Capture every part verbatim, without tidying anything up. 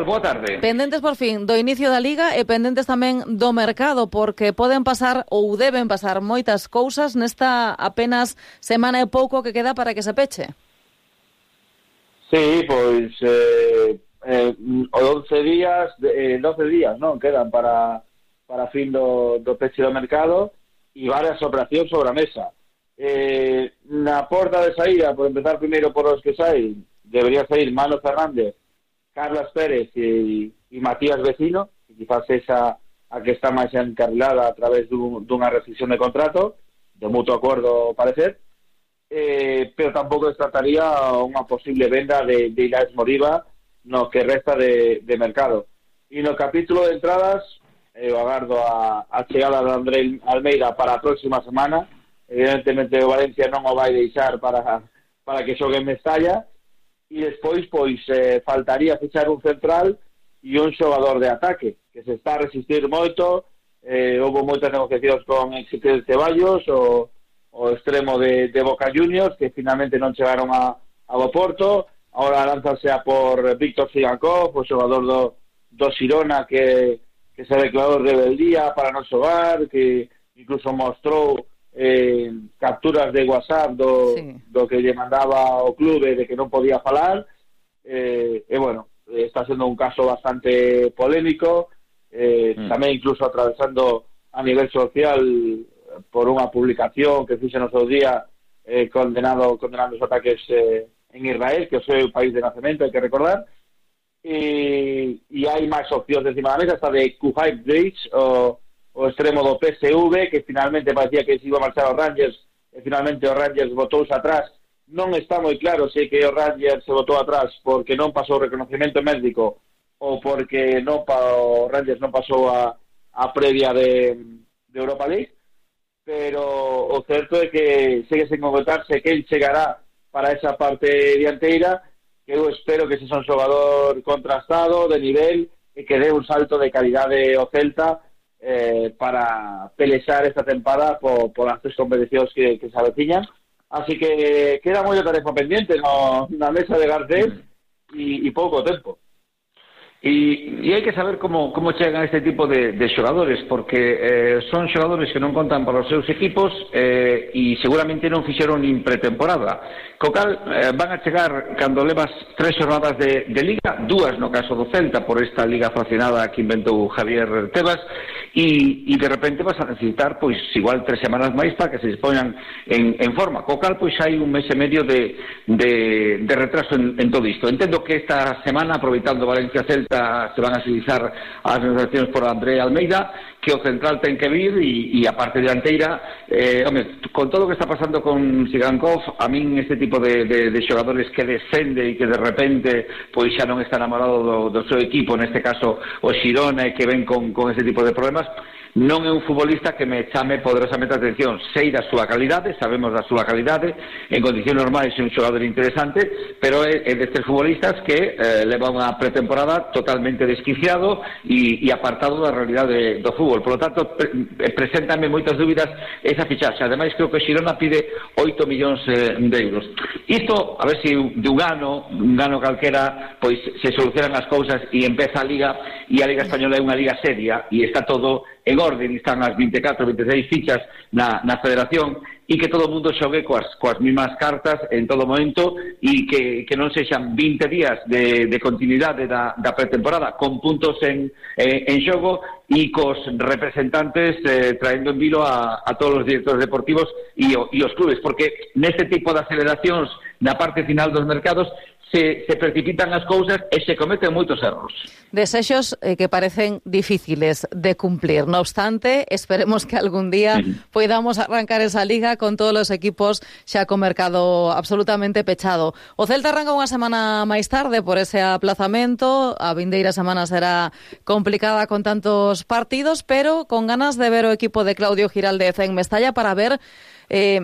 Boa tarde. Pendentes por fin do inicio da Liga e pendentes tamén do mercado, porque poden pasar ou deben pasar moitas cousas nesta apenas semana e pouco que queda para que se peche. Sí, pois eh, eh, once días, eh, doce días, non? Quedan para para fin do, do peche do mercado e varias operacións sobre a mesa. Eh, na porta de saída, por empezar primeiro por os que saen, debería sair Mano Fernández, Carlos Pérez e, e Matías Vecino, que quizás esa a que está máis encarrilada a través dun, dunha rescisión de contrato, de mutuo acordo, parecer, eh, pero tampouco descartaría unha posible venda de, de Ilaix Moriba no que resta de, de mercado. E no capítulo de entradas, eu eh, agardo a, a chegada de André Almeida para a próxima semana. Evidentemente o Valencia non o vai deixar para, para que xogue en Mestalla. E despois, pois, eh, faltaría fichar un central e un xogador de ataque, que se está a resistir moito. Eh, houve moitas negociacións con Ezequiel Ceballos, o, o extremo de, de Boca Juniors, que finalmente non chegaron a, a Oporto. Ahora lánzase a por Víctor Sigankov, o xogador do, do Xirona, que, que se declarou rebeldía para non xogar, que incluso mostrou Eh, capturas de WhatsApp do, sí. do que lle mandaba o clube de que non podía falar, eh, e bueno, está sendo un caso bastante polémico, eh, mm. tamén incluso atravesando a nivel social por unha publicación que fixe no seu día eh, condenado, condenando os ataques eh, en Israel, que é o seu país de nacemento, hai que recordar. E, e hai máis opcións encima da mesa, está de Kuhai Bridge, o o extremo do P S V, que finalmente parecía que se iba a marchar aos Rangers, e finalmente o Rangers botouse atrás. Non está moi claro se que o Rangers se botou atrás porque non pasou o reconocimiento médico ou porque non pa, o Rangers non pasou a, a previa de, de Europa League, pero o certo é que segue sen concretarse que el chegará para esa parte dianteira, que eu espero que se son xogador contrastado, de nivel, e que dé un salto de calidade ao Celta, Eh, para pelexar esta tempada por, por as tres competicións que, que se aveciñan. Así que queda moita tarefa pendiente no, na mesa de Garcés e, e pouco tempo. E, e hai que saber como, como chegan este tipo de, de xogadores, porque eh, son xogadores que non contan para os seus equipos eh, e seguramente non fixeron nin pretemporada. Co cal eh, van a chegar cando levas tres xornadas de, de Liga, dúas no caso do Celta por esta Liga fraccionada que inventou Javier Tebas, e, e de repente vas a necesitar pois igual tres semanas máis para que se expoñan en, en forma. Co cal pois hai un mes e medio de, de, de retraso en, en todo isto. Entendo que esta semana, aproveitando Valencia-Celta, se van a agilizar as negociacións por André Almeida, que o central ten que vir e, e a parte dianteira, eh, home, con todo o que está pasando con Sigankov, a min este tipo de, de, de xogadores que descende e que de repente pois xa non está enamorado do, do seu equipo, neste caso o Xirona, e que ven con, con este tipo de problemas, non é un futbolista que me chame poderosamente a atención. Sei da súa calidade, sabemos da súa calidade, en condicións normais é un xogador interesante, pero é, é destes futbolistas que eh, leva unha pretemporada totalmente desquiciado e, e apartado da realidade do fútbol. Por lo tanto, pre, preséntame moitas dúbidas esa fichaxe. Ademais, creo que Xirona pide oito millóns eh, de euros. Isto, a ver se de un ano, un ano calquera, pois se solucionan as cousas e empeza a Liga, e a Liga Española é unha liga seria e está todo en orden, están as vinte e catro, vinte e seis fichas na, na federación, e que todo o mundo xogue coas, coas mismas cartas en todo momento, e que, que non sexan vinte días de, de continuidade da, da pretemporada con puntos en, en, en xogo e cos representantes eh, traendo en vilo a, a todos os directores deportivos e, o, e os clubes, porque neste tipo de aceleracións na parte final dos mercados Se, se precipitan as cousas e se cometen moitos erros. Desexos eh, que parecen difíciles de cumplir. No obstante, esperemos que algún día uh-huh. podamos arrancar esa liga con todos os equipos xa co mercado absolutamente pechado. O Celta arranca unha semana máis tarde por ese aplazamento. A vindeira semana será complicada con tantos partidos, pero con ganas de ver o equipo de Claudio Giraldez en Mestalla para ver Eh,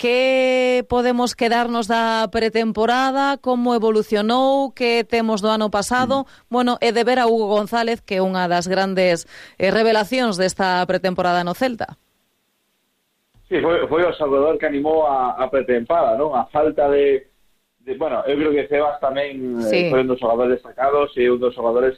que podemos quedarnos da pretemporada, como evolucionou, que temos do ano pasado, mm. bueno, e de ver a Hugo González, que é unha das grandes eh, revelacións desta pretemporada no Celta. Sí, foi, foi o Salvador que animou a, a pretemporada, non? A falta de, de... Bueno, eu creo que Sebas tamén sí. eh, foi un dos xogadores destacados e un dos xogadores